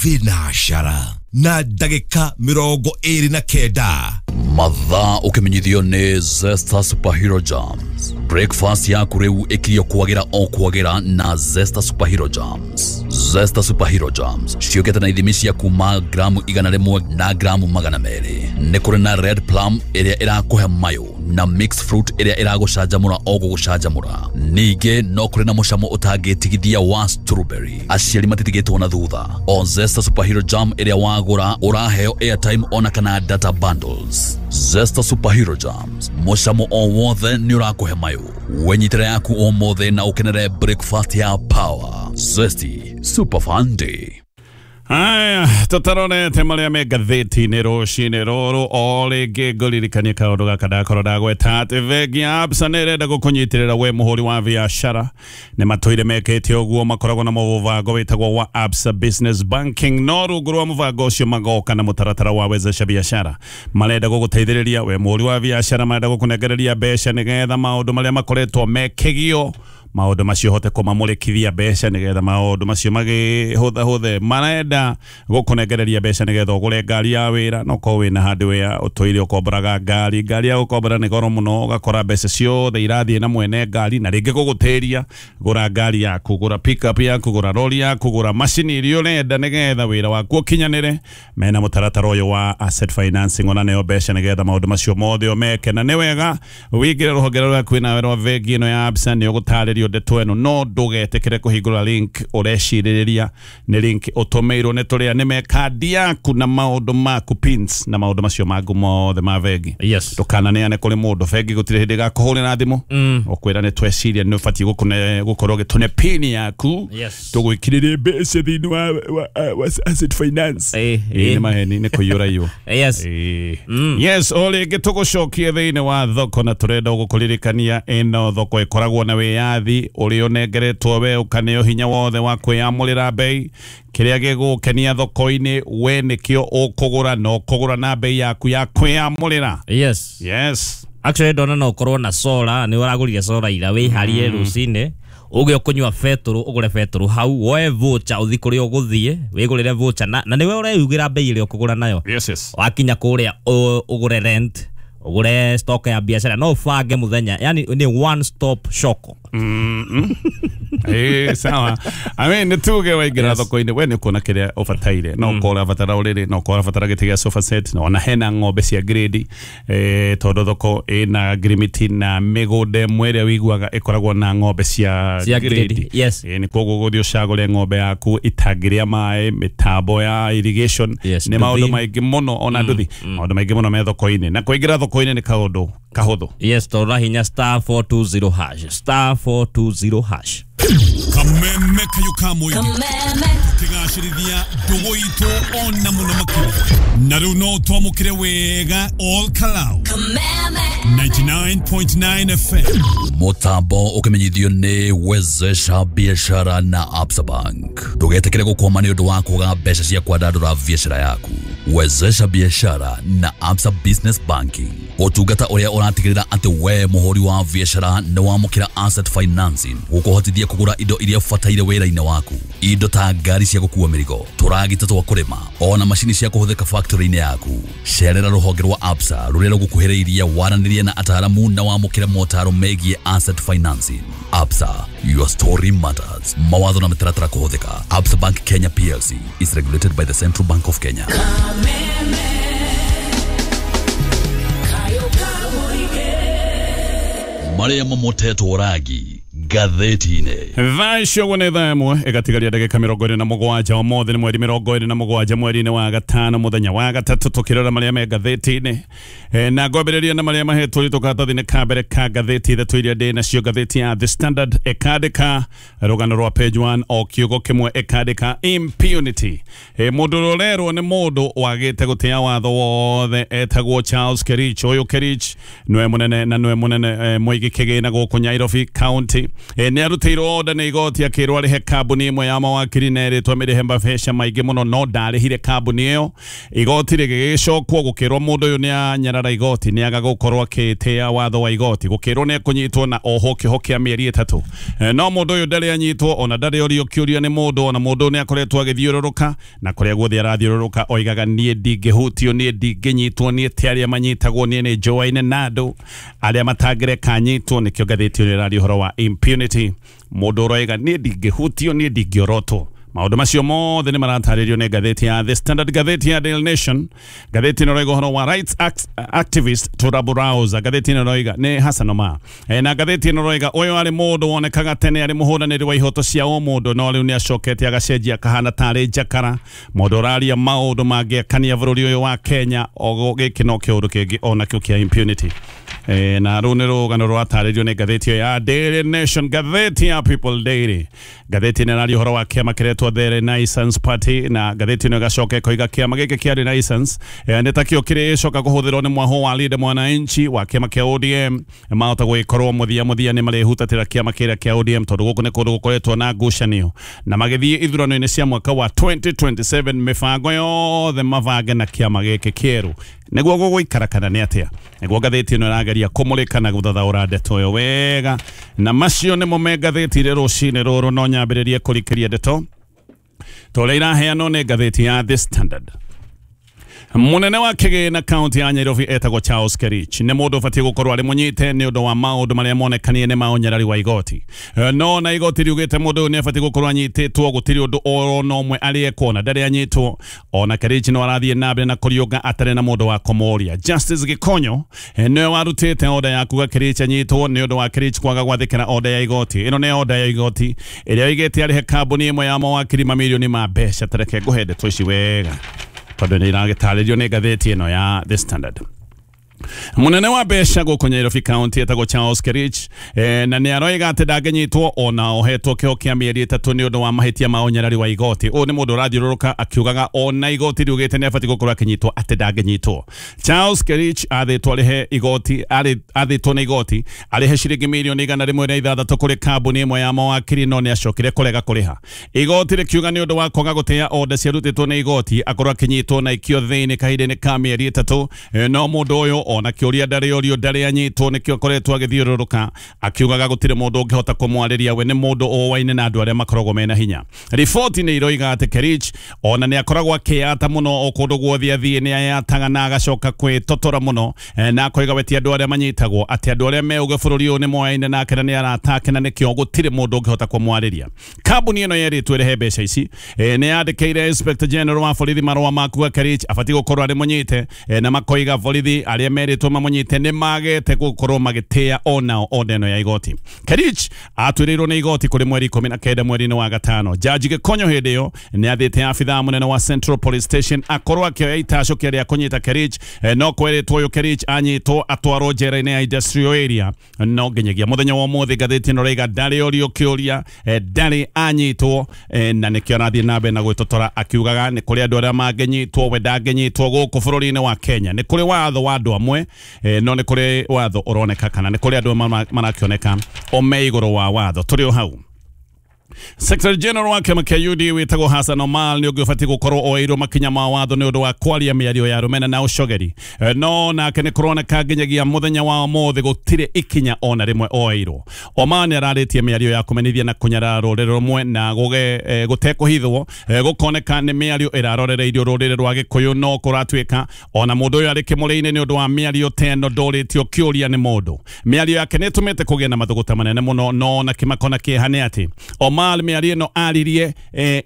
Thinacara na ndagĩka 29. Mathaa ũkĩmenyithio nĩ Zesta Superhero Jams. Breakfast yaku rĩu ĩkirio kwagĩra o kwagĩra na Zesta Superhero Jams. Zesta Superhero Jams ciũkĩte na ithimi cia kuma gramu 100 na gramu 200. Nĩ kũrĩ na red plum ĩrĩa ĩrakũhe mayũ na mixed fruit ĩrĩa ĩragũcanjamũra o gũgũcanjamũra. Ningĩ no kũrĩ na mũcamo ũtangĩtigithia wa strawberry. Aciari matitigĩtwo na thutha. O Zesta Superhero Jam ĩrĩa wagũra ũraheo airtime ona kana data bundles. Zesta Superhero Jams, mũcamo o wothe nĩ ũrakũhe mayũ. Wenyitĩra yaku ũmũthĩ na ũkenere breakfast ya power. Zesty Super Fun Day. Aya, tũtarorete marĩa me ngathĩti-inĩ rũcinĩ rũrũ. O rĩngĩ ngũririkanie kaũndũ gaka ndakorwo ndagweta atĩ bengi ya Absa nĩ ĩrenda gũkũnyitĩrĩra we mũhũri wa biacara. Nĩ matũire mekĩte ũguo, makoragwo na mũbango wĩtagwo wa Absa Business Banking, no rungu rwa mũbango ũcio magoka na mũtaratara wa wezesha biacara. Marenda gũgũteithĩrĩria we mũhũri wa biacara, marenda gũkũnengereria mbeca nĩgetha maũndũ marĩa makoretwo mekĩgio, maũndũ macio hote kũmamũrĩkithia mbeca nĩgetha maũndũ macio magĩhũthahũthe. Marenda gũkũnengereria mbeca nĩgetha ũgũre ngari ya wĩra, no korwo wĩna handũ wĩa ũtũire ũkomboraga ngari, ngari ya gũkombora nĩ goro mũno, ũgakora mbeca ciothe irathiĩ na mwene ngari na rĩngĩ gũgũtĩria. Gũra ngari yaku, gũra pickup yaku, gũra rori yaku, gũra macini iria ũrenda nĩgetha wĩra waku ũkinyanĩre. Mena mũtaratara ũyũ wa asset financing, ona nĩo mbeca nĩgetha maũndũ macio mothe ũmeke. Na nĩ wega wĩingĩre rũhonge rũrĩa kwĩnawe rwa bengi ĩno ya Absa, nĩ ũgũtarĩrio ndeto ĩno, no ndũgetĩkĩre kũhingũra link ũrecirĩrĩria nĩ link ũtũmĩirwo nĩ tũrĩa nĩ me kandi yaku na maũndũ maku, pins na maũndũ macio mangũ mothe ma bengi. Ndũkananeane kũrĩ mũndũ. Bengi gũtirĩ hĩndĩ ĩgakũhũrĩra thimũ ũkwĩra nĩ tweciria nĩ ũbatiĩ gũkorwo ũgĩtũne pin yaku tũgwĩkĩrĩre mbeca thĩinĩ wa asset finance. Ĩĩ, nĩ maheni, nĩ kũiyũra iyũ. Yes, o rĩngĩ tũgũcokie thĩinĩ wa thoko, na tũrenda gũkũririkania ĩno thoko ĩkoragwo na wĩyathi ũrĩa ũnengeretwo we, ũkaneo hinya wothe wa kwĩyamũrĩra bei. Kĩrĩa gĩgũkenia thoko-inĩ we nĩkĩo ũkũgũra, na ũkũgũra na bei yaku ya kwĩyamũrĩra. Yes. Actually ndona no ũkorwo na solar, nĩ ũragũrire solar ira, wĩharie rũcinĩ uge ũkũnyua betũrũ, ũgũre betũrũ hau, woe voucher ũthiĩ kũrĩa ũgũthiĩ wĩgũrĩre voucher, na nĩwe ũreyugĩra bei ĩrĩa ũkũgũra nayo. Yes. Wakinya kũrĩa ũgũre rent, ũgũre stock ya biacara, no ũbange mũthenya, yani nĩ one stop shop. Sawa. I mean, nĩ tuge waingĩra thoko-inĩ we nĩ ũkuona kĩrĩa ũbataire, no ũkorwo ũrabatara ũrĩrĩ, no ũkorwo ũrabatara gĩtĩ gĩa sofa set, na ona hena ng'ombe cia grade, tondũ thoko ĩna ngirimiti na mĩgũnda ĩmwe ĩrĩa ũiguaga ĩkoragwo na ng'ombe cia grade. Nĩ koguo ũgũthiĩ ũcagũre ng'ombe yaku itangĩrĩa maĩ, mĩtambo ya irrigation, nĩ maũndũ maingĩ mũno, ona nduthi, maũndũ maingĩ mũno me thoko-inĩ, na kũingĩra thoko-inĩ nĩ kaũndũ kahũthũ. Yes, tondũ hinya star 420 hash, star 420 hash. Kameme kayo ka mũingĩ tũkĩgacĩrithia ndũgũ itũ ona mũno makĩria, na rĩu no twamũkĩre wega all Kalau 99.9 FM. Mũtambo ũkĩmenyithio nĩ Wezesha Biashara na Absa Bank. Ndũgetĩkĩre gũkwama nĩ ũndũ wa kwaga mbeca cia kwandandũra biacara yaku. Wezesha Biashara na Absa Business Banking, ũtungata ũrĩa ũratigĩrĩra atĩ we mũhũri wa biacara nĩ wamũkĩra asset financing gũkũhotithia kũgũra indo iria ũbataire wĩra-inĩ waku, indo ta ngari cia gũkua mĩrigo, tũragita twa kũrĩma, ona macini cia kũhũthĩka factory-inĩ yaku. Cerera rũhonge rwa Absa rũrĩa rũgũkuhĩrĩirie, waranĩrie na ataaramu na wamũkĩre motaro megiĩ asset financing. Absa, your story matters. Mawatho na mĩtaratara kũhũthĩka. Absa Bank Kenya PLC is regulated by the Central Bank of Kenya. Marĩa mamotetwo rangi ngathĩti-inĩ. Thaa icio ũguo nĩ thaa 1 ĩgatigaria ndagĩka 27. Ũmũthĩ nĩ mweri 27 mweri-inĩ wa gatano, mũthenya wa gatatũ, tũkĩrora marĩa me ngathĩti-inĩ. Na ngwambĩrĩria na marĩa mahetwo ritũ karatathi-inĩ ka mbere ka ngathĩti ithatũ iria ndĩ nacio. Ngathĩti ya The Standard ĩkandĩka rũgano rwa page 1 o kiugo kĩmwe, ĩkandĩka impunity. Mũndũ ũrĩa ũrerwo nĩ mũndũ wagĩte gũtĩa watho wothe etagwo Charles Kerich. Ũyũ Kerich nĩwe mũnene na nĩwe mũnene mũigi kĩgĩna gũkũ Nairobi County. igoti. Nĩ arutĩirwo order nĩ igoti akĩrwo arĩhe kambuni ĩmwe ya mawakiri na ĩrĩtwo mĩrĩhe mbeca maingĩ mũno, no ndarĩhire kambuni ĩyo. Igoti rĩgĩgĩcokwo gũkĩrwo mũndũ ũyũ nĩ anyarara igoti, nĩ aga gũkorwo akĩtĩa watho wa igoti, gũkĩrwo nĩ ekũnyitwo na oho kĩoho kĩa mĩeri 3. No mũndũ ũyũ ndarĩ anyitwo, ona ndarĩ orio kĩũria nĩ mũndũ, ona mũndũ nĩ akoretwo agĩthiũrũrũka na kũrĩa guothe arathiũrũrũka oigaga niĩ ndingĩhutio, niĩ ndingĩnyitwo, niĩ ti arĩa manyitagwo, niĩ nĩ njũaine na andũ arĩa matangĩreka nyitwo. Nĩkĩo ngathĩti ĩno ĩraria ũhoro wa impunity, mũndũ ũroiga niĩ ndingĩhutio, niĩ ndingĩorotwo. Maũndũ macio mothe nĩ maratarĩrio nĩ ngathĩti ya The Standard. Ngathĩti ya Daily Nation, ngathĩti ĩno ĩroiga ũhoro wa rights activist to rabble-rouser. Ngathĩti ĩno ĩroiga nĩ Hassan Omar. Na ngathĩti ĩno ĩroiga ũyũ arĩ mũndũ wonekaga tene arĩ mũhũranĩri wa ihoto cia ũmũndũ, no rĩu nĩ acokete agacenjia akahana tarĩ njakara, mũndũ ũraria maũndũ mangĩakania bũrũri ũyũ wa Kenya. O gĩkĩ no kĩũndũ kĩngĩ onakĩo kĩa impunity. Na rũu nĩ rũgano rũratarĩrio nĩ ngathĩti ĩyo ya Daily Nation. Ngathĩti ya People Daily, ngathĩti ĩno ĩraria ũhoro wa kĩama kĩretwo The Renaissance Party, na ngathĩti ĩno ĩgacoka ĩkoiga kĩama gĩkĩ kĩa Renaissance nĩ takĩo kĩrĩcoka kũhũthĩrwo nĩ mwaho wa Linda Mwananchi wa kĩama kĩa ODM. Mahota gũgĩkorwo mũthia mũthia nĩ marĩhutatĩra kĩama kĩrĩa kĩa ODM, tondũ gũkũ nĩ kũndũ gũkoretwo na ngucanio, na magĩthiĩ ithurano-inĩ cia mwaka wa 2027 mĩbango yothe mabange na kĩama gĩkĩ kĩerũ nĩguo gũgũikara kana nĩ atĩa. Nĩguo ngathĩti ĩno ĩrageria kũmũrĩka na gũthathaũra ndeto ĩyo wega, na macio nĩmo me ngathĩti-inĩ rũcinĩ rũrũ. No nyambĩrĩrie kũrikĩria ndeto ta ũrĩa iraheanwo nĩ ngathĩti ya The Standard. Munene wa kĩgĩna kaunti ya Nairobi etagwo Charles Kerich nĩ mũndũ ũbatiĩ gũkorwo arĩ mũnyite nĩ ũndũ wa maũndũ marĩa monekanie nĩ ma ũnyarari wa igoti. No na igoti riugĩte mũndũ ũyũ nĩ abatiĩ gũkorwo anyitĩtwo, gũtirĩ ũndũ oro na ũmwe arĩ ekwo na ndarĩ anyitwo. Ona Kerich no arathiĩ na mbere na kũriũnga atarĩ na mũndũ wa kũmũria. Justice Gikonyo nĩwe warutĩte order ya kuga Kerich anyitwo nĩ ũndũ wa Kerich kwaga gwathĩkĩra order ya igoti. Ĩno nĩ order ya igoti ĩrĩa oigĩte arĩhe kambuni ĩmwe ya mawakiri mamirioni ma mbeca. Tareke ngũhe ndeto ici wega tondũ nĩ iragĩtarĩrio nĩ ngathĩti ĩno ya The Standard. Munene wa mbeca gũkũ Nairobi County etagwo Charles Kerich na nĩ aroiga atĩ ndangĩnyitwo ona ohetwo kĩoho kĩa mĩeri 3 nĩ ũndũ wa mahĩtia ma ũnyarari wa igoti. Ũyũ nĩ mũndũ ũrathiũrũrũka akiugaga ona igoti riugĩte nĩ abatiĩ gũkorwo akĩnyitwo atĩ ndangĩnyitwo. Charles Kerich athĩtwo arĩhe igoti, athĩtwo nĩ igoti arĩhe ciringi mirioni 106 kũrĩ kambuni ĩmwe ya mawakiri, no nĩ acokire kũrega kũrĩha. Igoti rĩkiuga nĩ ũndũ wa kwaga gũtĩa order ciarutĩtwo nĩ igoti akorwo akĩnyitwo na ikio thĩinĩ kahinda-inĩ ka mĩeri 3. No mũndũ ũyũ ona kĩũria ndarĩ orio, ndarĩ anyitwo, nĩkĩo akoretwo agĩthiũrũrũka akiugaga gũtirĩ mũndũ ũngĩhota kũmwarĩria, we nĩ mũndũ ũwaine na andũ arĩa makoragwo mena hinya. Riboti nĩ iroiga atĩ Kerich ona nĩ akoragwo akĩyata mũno o kũndũ guothe athiĩ nĩ ayataga na agacoka kwĩtotora mũno, na akoiga we ti andũ arĩa manyitagwo, atĩ andũ arĩa me ũgĩ bũrũri ũyũ nĩ moyaine nake na nĩ aratake na nĩkĩo gũtirĩ mũndũ ũngĩhota kũmwarĩria. Kambuni ĩno yerĩtwo ĩrĩhe mbeca ici nĩ yandĩkĩire Inspector General wa borithi marũa ma kuga Kerich abatiĩ gũkorwo arĩ mũnyite, na makoiga borithi arĩa merĩtwo mamũnyite nĩ magete gũkorwo magĩtĩa onao order ĩno ya igoti. Kerich atuĩrĩirwo nĩ igoti kũrĩ mweri 19 mweri-inĩ wa gatano. Jaji Gikonyo hĩndĩ ĩyo nĩ athĩte abithaa mũnene wa Central Police Station akorwo akĩoya itacũkia rĩa kũnyita Kerich, no kwerĩtwo ũyũ Kerich anyitwo atwarwo njera-inĩ ya industrial area. No nginyagia mũthenya wa ũmũthĩ ngathĩti ĩno ĩroiga ndarĩ orio kĩũria, ndarĩ anyitwo, na nĩkĩo arathiĩ na mbere na gwĩtotora akiugaga nĩ kũrĩ andũ arĩa mangĩnyitwo, we ndangĩnyitwo gũkũ bũrũri-inĩ wa Kenya. Nĩ kũrĩ watho wa andũ amwe, no nĩ kũrĩ watho ũroneka kana nĩ kũrĩ andũ marakĩoneka o me igũrũ wa watho. Tũrĩ o hau. Secretary General wa kĩama kĩa UDA wĩtagwo Hassan Omar nĩ ũngĩ ũbatiĩ gũkorwo oeirwo makinya ma watho nĩ ũndũ wa kwaria mĩario ya rũmena na ũcogeri. No nake nĩ kũroneka nginyagia mũthenya wa ũmũthĩ gũtirĩ ikinya ona rĩmwe oeirwo. Omar nĩ ararĩtie mĩario ya kũmenithia na kũnyarara rũrĩrĩ rũmwe na gũtekũhithwo, gũkoneka nĩ mĩario ĩrarorereirio rũrĩrĩ rwa Gĩkũyũ, no kũratuĩka ona mũndũ ũyũ arĩ kĩmũrĩ-inĩ nĩ ũndũ wa mĩario ta ĩno ndũrĩtio kĩũria nĩ mũndũ. Mĩario yake nĩ ĩtũmĩte kũgĩe na mathũgũta manene mũno, no ona kĩmako na kĩeha nĩ atĩ Omar mĩario ĩno aririe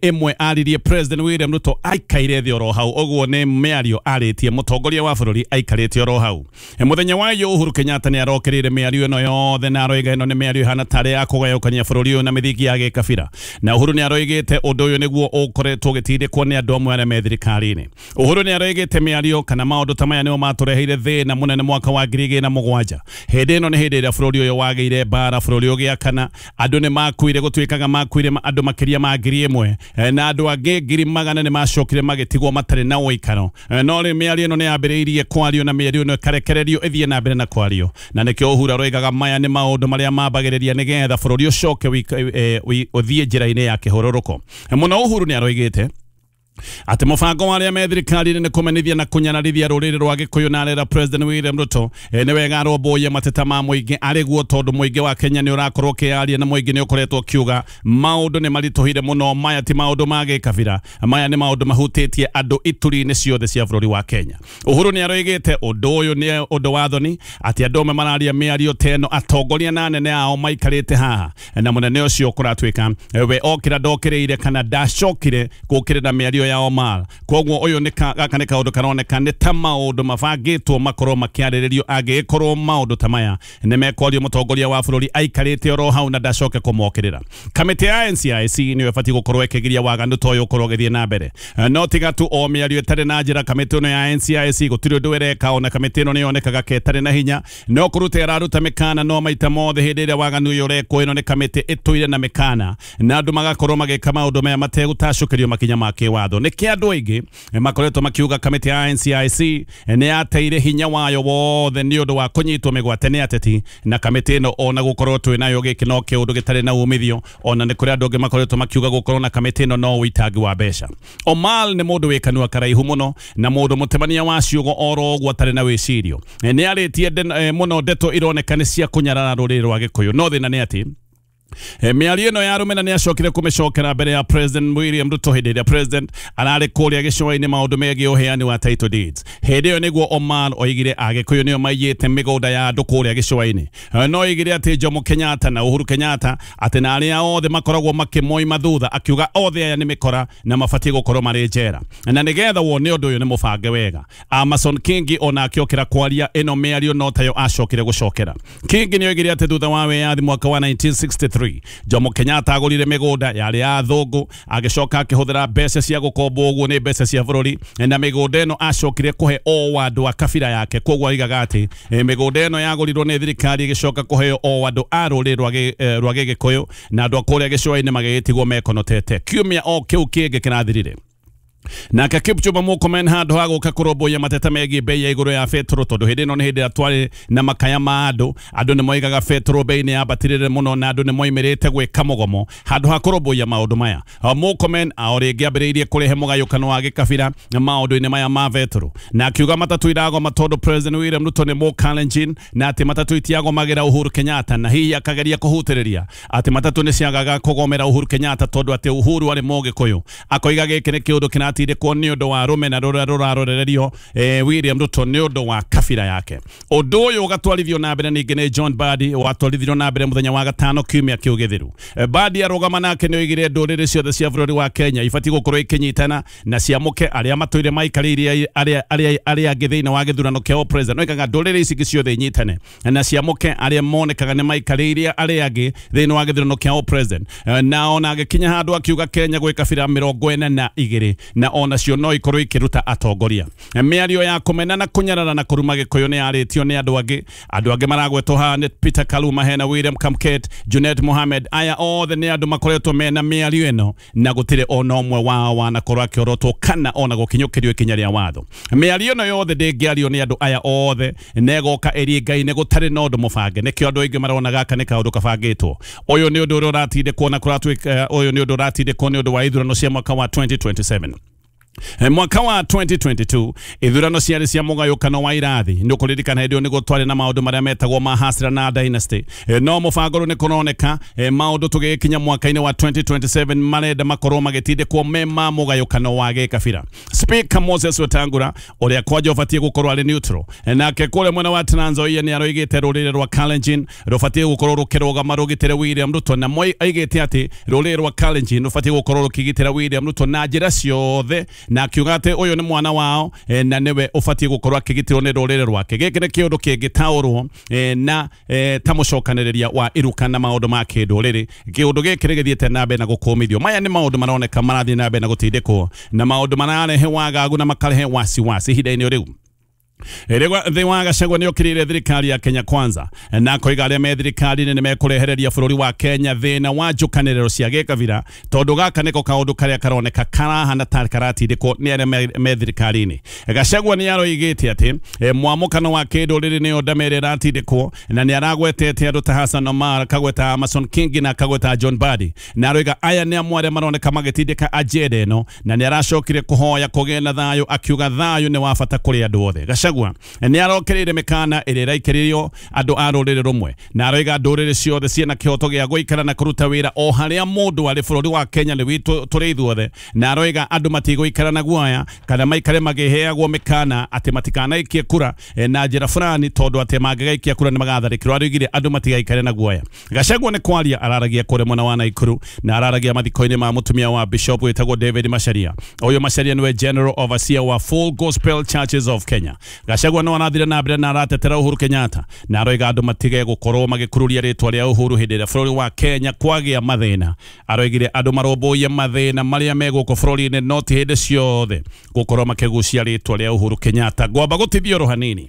ĩmwe aririe President William Ruto aikaire thĩ oro hau, ũguo nĩ mĩario arĩtie mũtongoria wa bũrũri aikarĩte oro hau. Mũthenya wa iyũ Uhuru Kenyatta nĩ arokĩrĩire mĩario ĩno yothe na aroiga ĩno nĩ mĩario ĩhana tarĩ ya kũgayũkania bũrũri ũyũ na mĩthingi ya gĩkabira, na Uhuru nĩ aroigĩte ũndũ ũyũ nĩguo ũkoretwo ũgĩtindĩkwo nĩ andũ amwe arĩa me thirikari-inĩ. Uhuru nĩ aroigĩte mĩario kana maũndũ ta maya nĩmo matũreheire thĩna mũnene mwaka wa 2007. Hĩndĩ ĩno nĩ hĩndĩ ĩrĩa bũrũri ũyũ wagĩire mbara, bũrũri ũgĩakana, andũ nĩ makuire, gũtuĩkaga yakuire andũ makĩria ma 1,000 na andũ angĩ 100,000 nĩ macokire magĩtigwo matarĩ na ũikaro. No rĩu mĩario ĩno nĩ yambĩrĩirie kwario na mĩario ĩno ĩkarekererio ĩthiĩ na mbere na kwario, na nĩkĩo Uhuru aroigaga maya nĩ maũndũ marĩa mambagĩrĩria nĩgetha bũrũri ũcoke ũthiĩ njĩra-inĩ ya kĩhũrũrũko mũno. Uhuru nĩ aroigĩte atĩ mũbango wa arĩa me thirikari-inĩ nĩ kũmenithia na kũnyararithia rũrĩrĩ rwa Gĩkũyũ na arera President William Ruto nĩ wega arũmbũiye mateta ma mũingĩ arĩ guo, tondũ mũingĩ wa Kenya nĩ ũrakorwo ũkĩyaria na mũingĩ nĩ ũkoretwo ũkiuga maũndũ nĩ maritũhire mũno. Maya ti maũndũ ma gĩkabira, maya nĩ maũndũ mahutĩtie andũ ituri-inĩ ciothe cia bũrũri wa Kenya. Uhuru nĩ aroigĩte ũndũ ũyũ nĩ ũndũ wa thoni atĩ andũ amwe mararia mĩario ta ĩno atongoria na anene ao maikarĩte haha, na mũnene ũcio kũratuĩka we okĩra ndokĩrĩire kana ndacokire gũkĩrĩra mĩario ya Omar. Koguo ũyũ nĩ gaka nĩ kaũndũ karoneka nĩ ta maũndũ mabangĩtwo makorwo makĩarĩrĩrio angĩkorwo maũndũ ta maya nĩ mekwario mũtongoria wa bũrũri aikarĩte oro hau na ndacoke kũmokĩrĩra. Kamĩtĩ ya NCIC nĩyo ĩbatiĩ gũkorwo ĩkĩgiria waganu ta ũyũ ũkorwo ũgĩthiĩ na mbere, no tiga tu o mĩario ĩtarĩ na njĩra. Kamĩtĩ ĩno ya NCIC gũtirĩ ũndũ ĩreka, ona kamĩtĩ ĩno nĩyonekaga ke ĩtarĩ na hinya, no kũruta ĩraruta mĩkana, no maita mothe hĩndĩ ĩrĩa waganu ũyũ ũrekwo ĩno nĩ kamĩtĩ ĩtũire na mĩkana na andũ magakorwo magĩka maũndũ maya mategũtacũkĩrio makinya ma kĩwatho. Nĩkĩ andũ aingĩ makoretwo makiuga kamĩtĩ ya NCIC nĩ yateire hinya wayo wothe nĩ ũndũ wa kũnyitwo mĩgwate nĩ ateti, na kamĩtĩ ĩno ona gũkorwo twĩ nayo gĩkĩ no kĩũndũ gĩtarĩ na umithio. Ona nĩ kũrĩ andũ angĩ makoretwo makiuga gũkorwo na kamĩtĩ ĩno no ũitangi wa mbeca. Omar nĩ mũndũ wĩ kanua karaihu mũno na mũndũ mũtemania wa ciugo oro ũguo atarĩ na wĩcirio. Nĩ arĩtie mũno ndeto ironeka nĩ cia kũnyarara rũrĩrĩ rwa Gĩkũyũ, no thĩna nĩ atĩ mĩario ĩno ya rũmena nĩ acokire kũmĩcokera mbere ya President William Ruto hĩndĩ ĩrĩa President ararĩ kũrĩa gĩcũa-inĩ maũndũ megiĩ ũheani wa title deeds. Hĩndĩ ĩyo nĩguo Omar oigire Agĩkũyũ nĩo maiyĩte mĩgũnda ya andũ kũrĩa gĩcũa-inĩ. No oigire atĩ Jomo Kenyatta na Uhuru Kenyatta atĩ na arĩa othe makoragwo makĩmoima thutha, akiuga othe aya nĩ mĩkora na mabatiĩ gũkorwo marĩ njera, na nĩgetha wone ũndũ ũyũ nĩ mũbange wega. Amason Kingi ona akĩokĩra kwaria ĩno mĩario no tayo acokire gũcokera. Kingi nĩ oigire atĩ thutha wa wĩyathi mwaka wa 1963 Jomo Kenyatta agũrire mĩgũnda yarĩ ya athũngũ, agĩcoka akĩhũthĩra mbeca cia gũkombwo ũguo nĩ mbeca cia bũrũri, na mĩgũnda ĩno acokire kũhe o andũ a kabira yake. Koguo oigaga atĩ mĩgũnda ĩno yagũrirwo nĩ thirikari ĩgĩcoka kũheo o andũ a rũrĩrĩ rwa Gĩgĩkũyũ na andũ a kũrĩa gĩcũa-inĩ magĩgĩtigwo mekonotete. Kiumia o kĩu kĩngĩ kĩrathirire nake Kipchumba Murkomen handũ ha gũka kũrũmbũiya mateta megiĩ bei ya igũrũ ya betũrũ, tondũ hĩndĩ ĩno nĩ hĩndĩ ĩrĩa twarĩ na makaya ma andũ, andũ nĩ moigaga betũrũ bei nĩ yambatĩrĩre mũno na andũ nĩ moimĩrĩte gwĩka mũgomo. Handũ ha kũrũmbũiya maũndũ maya, Murkomen o rĩngĩ ambĩrĩirie kũrehe mũgayũkano wa gĩkabira maũndũ-inĩ maya ma betũrũ, na akiuga matatũ iragoma tondũ President William Ruto nĩ Mũkalenjin na atĩ matatũ itiagomagĩra Uhuru Kenyatta, na hihi akageria kũhutĩrĩria atĩ matatũ nĩ ciagaga kũgomera Uhuru Kenyatta tondũ atĩ Uhuru arĩ Mũgĩkũyũ. Akoiga gĩkĩ nĩ kĩũndũ kĩratindĩkwo nĩ ũndũ wa rũmena rũrĩa rũrarorererio William Ruto nĩ ũndũ wa kabira yake. Ũndũ ũyũ ũgatwarithio na mbere ningĩ nĩ John Mbadi, watwarithirio na mbere mũthenya wa gatano kiumia kĩu gĩthiru. Mbadi arũgama nake nĩ oigire ndũrĩrĩ ciothe cia bũrũri wa Kenya ibatiĩ gũkorwo ikĩnyitana na ciamũke arĩa matũire maikarĩire arĩa angĩ thĩinĩ wa gĩthurano kĩa president. Oigaga ndũrĩrĩ ici ciothe inyitane na ciamũke arĩa monekaga nĩ maikarĩire arĩa angĩ thĩinĩ wa gĩthurano kĩa president. Na ona agĩkinya handũ akiuga Kenya gwĩ kabira 42 na ona cio no ikorwo ikiruta atongoria. Mĩario ya kũmena na kũnyarara na kũruma Gĩkũyũ nĩ yarĩtio nĩ andũ angĩ. Andũ angĩ maragwetwo haha nĩ Peter Kaluma, hena William Kamket, Junet Mohamed. Aya othe nĩ andũ makoretwo mena mĩario ĩno na gũtirĩ ona ũmwe wao wanakorwo akĩorotwo kana ona gũkinyũkĩrio ikinya rĩa watho. Mĩario ĩno yothe ndĩngĩario nĩ andũ aya othe na ĩgoka ĩringaine gũtarĩ na ũndũ mũbange. Nĩkĩo andũ aingĩ marona gaka nĩ kaũndũ kabangĩtwo. Ũyũ nĩ ũndũ ũrĩa ũratindĩkwo na kũratuĩka, ũyũ nĩ ũndũ ũratindĩkwo nĩ ũndũ wa ithurano cia mwaka wa 2027. Mwaka wa 2022 ithurano ciarĩ cia mũgayũkano wa irathi. Nĩ ũkũririkana hĩndĩ ĩyo nĩguo twarĩ na maũndũ marĩa metagwo ma hasra na dynasty. No mũbango rĩu nĩ kũroneka maũndũ tũgĩkinya mwaka-inĩ wa 2027 marenda makorwo magĩtindĩkwo me ma mũgayũkano wa gĩkabira. Speaker Moses Wetangula ũrĩa kwanja ũbatiĩ gũkorwo arĩ neutral, nake kũrĩa mwena wa Trans Nzoia nĩ aroigĩte rũrĩrĩ rwa Kalenjin rũbatiĩ gũkorwo rũkĩrũgama rũgitĩre William Ruto, na Moi aigĩte atĩ rũrĩrĩ rwa Kalenjin rũbatiĩ gũkorwo rũkĩgitĩra William Ruto na njĩra ciothe, na akiuga atĩ ũyũ nĩ mwana wao na nĩwe ũbatiĩ gũkorwo akĩgitĩrwo nĩ rũrĩrĩ rwake. Gĩkĩ nĩ kĩũndũ kĩngĩtaũrwo na ta mũcokanĩrĩria wa iruka na maũndũ ma kĩndũrĩrĩ. Kĩũndũ gĩkĩ nĩgĩthiĩte na mbere na gũkũmithio. Maya nĩ maũndũ maroneka marathiĩ na mbere na gũtindĩkwo na maũndũ mararehe wagagu na makarehe wasiwasi ihinda-inĩ rĩu. Rigathi wa Gachagua nĩ okĩrĩire thirikari ya Kenya Kwanza na koiga arĩa me thirikari-inĩ nĩ mekũrehereria bũrũri wa Kenya thĩna wa njũkanĩrĩro cia gĩkabira, tondũ gaka nĩko kaũndũ karĩa karoneka karahana ta karatindĩkwo nĩ arĩa me thirikari-inĩ. Gachagua nĩ aroigĩte atĩ mwamũkano wa kĩndũrĩrĩ nĩyo ndama ĩrĩa ĩratindĩkwo, na nĩ aragwetete andũ ta Hassan Omar, akagweta Amason Kingi na akagweta John Mbadi, na aroiga aya nĩ amwe arĩa maroneka magĩtindĩka agenda ĩno, na nĩ aracokire kũhoya kũgĩe na thayũ, akiuga thayũ nĩ wa bata kũrĩ andũ othe. Gachagua nĩ arokereire mĩkana ĩrĩa ĩraikĩrĩrio andũ a rũrĩrĩ rũmwe, na aroiga ndũrĩrĩ ciothe ciĩna kĩhoto gĩa gũikara na kũruta wĩra o harĩa mũndũ arĩ. Bũrũri wa Kenya nĩ witũ tũrĩ ithuothe, na aroiga andũ matigũikara na guoya kana maikare makĩheagwo mĩkana atĩ matikanaikie kura na njĩra fulani, tondũ atĩ mangĩgaikia kura nĩ magatharĩkĩrwo. Aroigire andũ matigaikare na guoya. Gachagua nĩ kwaria araragia kũrĩa mwena wa Naikuru, na araragia mathiko-inĩ ma mũtumia wa Bishop wĩtagwo David Macharia. Ũyũ Macharia nĩwe General Overseer wa Full Gospel Churches of Kenya. Gachagua no arathire na mbere na aratetera Uhuru Kenyatta, na aroiga andũ matige gũkorwo magĩkururia rĩtwa rĩa Uhuru hĩndĩ ĩrĩa bũrũri wa Kenya kwagĩa mathĩna. Aroigire andũ marũmbũiye mathĩna marĩa me gũkũ bũrũri-inĩ, no ti hĩndĩ ciothe gũkorwo makĩgucia rĩtwa rĩa Uhuru Kenyatta. Ngwamba gũtithio hanini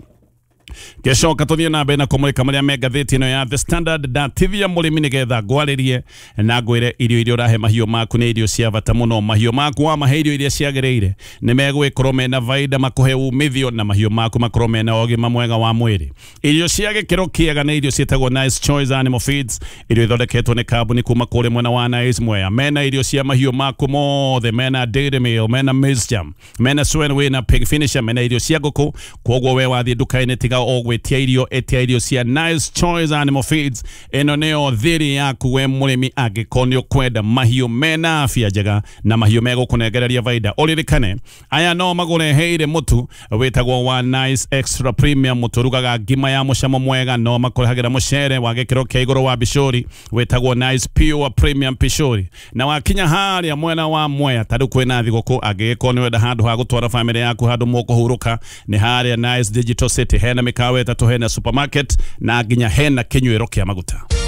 gĩcoka tũthiĩ na mbere na kũmũrĩka marĩa me ngathĩti ĩno ya The Standard. Ndatithia mũrĩmi nĩgetha ngwarĩrie na ngwĩre irio iria ũrahe mahiũ maku nĩ irio cia bata mũno. Mahiũ maku wamahe irio iria ciagĩrĩire nĩ megwĩkorwo mena baida, makũhe umithio, na mahiũ maku makorwo mena ũgima mwega wa mwĩrĩ. Irio cia gĩkĩro kĩega nĩ irio ciĩtagwo Nice Choice Animal Feeds, irio ithondeketwo nĩ kambuni kuma kũrĩ mwena wa Nice Mwea. Mena irio cia mahiũ maku mothe, mena dairy meal, mena maize jam, mena swenway na pig finisher, mena irio cia ngũkũ. Kwoguo we wathiĩ nduka-inĩ tiga o gwĩtia irio, ĩtia irio cia Nice Choice Animal Feeds. Ĩno nĩyo thiri yaku we mũrĩmi angĩkorwo nĩ ũkwenda mahiũ mena afya njega na mahiũ megũkũnengereria baida. Ũririkane aya no magũreheire mũtu wĩtagwo wa Nice Extra Premium, mũtu ũrugaga ngima ya mũcamo mwega. No makũrehagĩra mũcere wa gĩkĩro kĩa igũrũ wa bicũri wĩtagwo Nice Pure Premium Pishori. Na wakinya harĩa mwena wa Mwea ta rĩu kwĩna thigũkũ, angĩgĩkorwo nĩ wenda handũ ha gũtwara bamĩrĩ yaku handũ mũkũhurũka, nĩ harĩa Nice Digital City. Hena mĩkawa ĩtatũ, hena supermarket na nginya hena kĩnyuĩro kĩa maguta.